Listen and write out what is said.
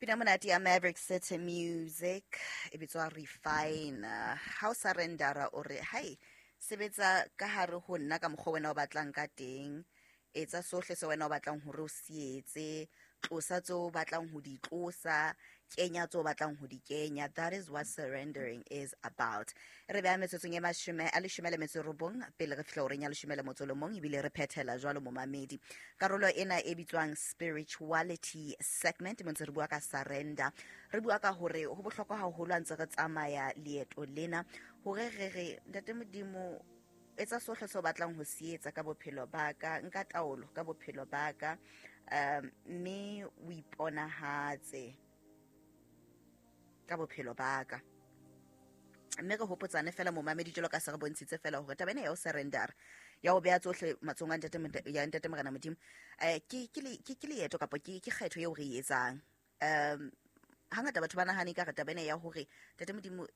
Pina monate ya Maverick City Music e bitswa Refine. Ha o surrendera, o re hai, sebetsa ka hare ho nna ka mokgwa wena o batlang ka teng, etsa sohle se wena o batlang hore o se etse, tlosa tseo o batlang ho di tlosa, kenya tseo o batlang ho di kenya. That is what surrendering is about. Re beha metsotsong e 19 pele re fihla horeng ya 11, ebile re phethela jwalo, momamedi, karolo ena e bitswang spirituality segment, mo ntse re bua ka surrender, re bua ka hore ho bohlokwa haholo a ntse re tsamaya leeto lena hore re re, Ntate Modimo, etsa sohle se o batlang ho se etsa ka bophelo ba ka, nka taolo ka bophelo ba ka, mme o iponahatse ka bophelo ba ka. Mme re hopotsane fela, momamedi, jalo ka se re bontshitse fela hore taba ena ya ho surrender, ya ho beha tsohle matsohong a ntate ya Ntate Morena Modimo, ke leeto kapa ke kgetho eo re e etsang. Hangata batho ba nahane ka re taba ena ya hore Ntate Modimo